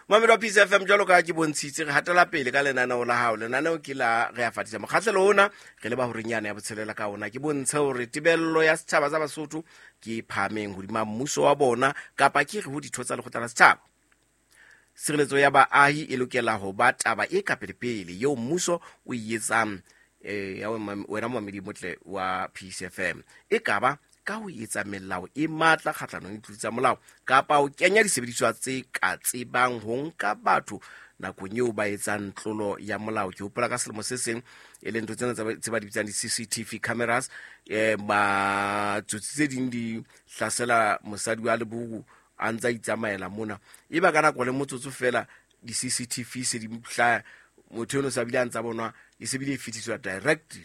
Momamedi wa Peace FM, jwalo ka ke bontshitse, re hatela pele ka lenaneo la hao. Lenaneo ke la Re a Fatisa. Mokgahlelo ona re leba horeng yane ya botshelela. Ka ona ke bontshe hore tebello ya setjhaba sa Basotho ke e phahameng hodima mmuso wa bona, kapa ke re ho ditho tsa lekgotla la setjhaba. Tshireletso ya baahi e lokela ho ba taba e ka pelepele eo mmuso o e etsang. Ya wena momamedi motle wa Peace FM, e kaba ka ho etsa melao e matla kgahlanong le ditlolo tsa molao, kapa ho kenya disebediswa tse ka tsebang ho nka batho nakong eo ba etsang tlolo ya molao. Ke hopola ka selemo se seng, e leng ntho tsena tse ba di bitsang di-CCTV cameras, matsotsi tse ding di hlasela mosadi wa leboru a ntse a itsamaela mona, e ba ka nako le motsotso fela di-CCTV se di hlaya, motho eno sa bile a ntsa bonwa, e se bile e fetiswa direct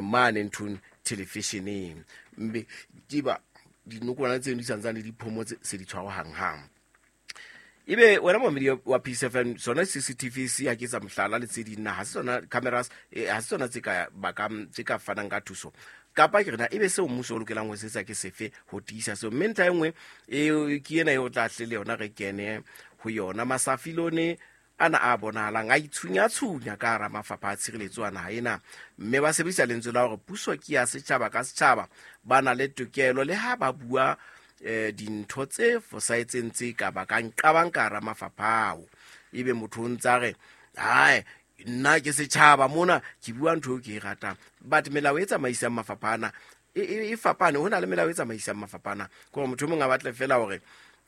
mane nthong televisioneng, mme ke ba dinokwana tseno di santsane di phomotse, se di tshwarwa hang-hang. Ebe wena momamedi wa Peace FM, sona CCTV se ya ke tsa mohlala le tse ding, na ha se tsona cameras, ha se tsona tse ka bakang, tse ka fanang ka thuso, kapa ke rena ebe seo mmuso o lokelang ho se etsa ke sefe ho tiisa seo? Mme ntlha e nngwe e ke ena e o tla hle le yona re kene ho yona. Masafilone ana a bonahalang a itshunya-tshunya ka hara mafapha a tshireletso a naha ena, mme ba sebedisa lentswe la hore puso ke ya setjhaba ka setjhaba, ba na le tokelo le ha ba bua dintho tse fosahetseng tse ka bakang qabang ka hara mafapha ao. Ebe motho o ntsa re, "Hae, nna ke setjhaba mona, ke bua ntho eo ke e ratang." But melao e tsamaisang mafapha ana e fapane. Ho na le melao e tsamaisang mafapha ana, ke hore motho e mong a batle fela hore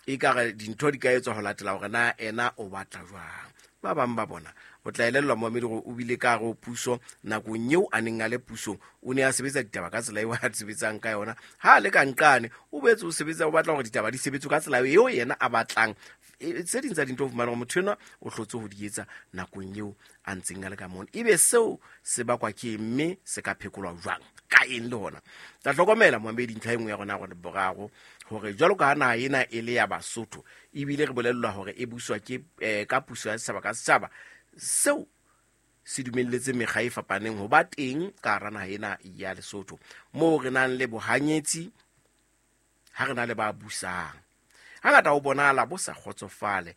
e ka re dintho di ka etswa ho latela hore na ena o batla jwang. Ba bang ba bona o tla elellwa, moamedi, gore o bile ka gare ho puso nakong eo a neng a le pusong, o ne a sebetsa ditaba ka tsela eo a sebetsang ka yona. Ha a le ka nqane, o boetse o sebetsa, o batla hore ditaba di sebetswe ka tsela eo yena a batlang. Tse ding tsa dintho o fumana gore motho enwa o hlotse ho di etsa nakong eo a ntseng a le ka mona. Ebe seo se bakwa ke eng, mme se ka phekolwa jwang, ka eng? Le hona tla hlokomela, moamedi, ntlha e nngwe ya rona gore boraro, hore jwalo ka ha naha ena e le ya Basotho, ebile re bolellwa hore e buswa ke ka puso ya setjhaba ka setjhaba, seo se dumelletse mekga e fapaneng ho ba teng ka hara naha ena ya Lesotho, moo re nang le bohanyetsi ha re na le ba busang. Hangata ho bonahala bo sa kgotsofale.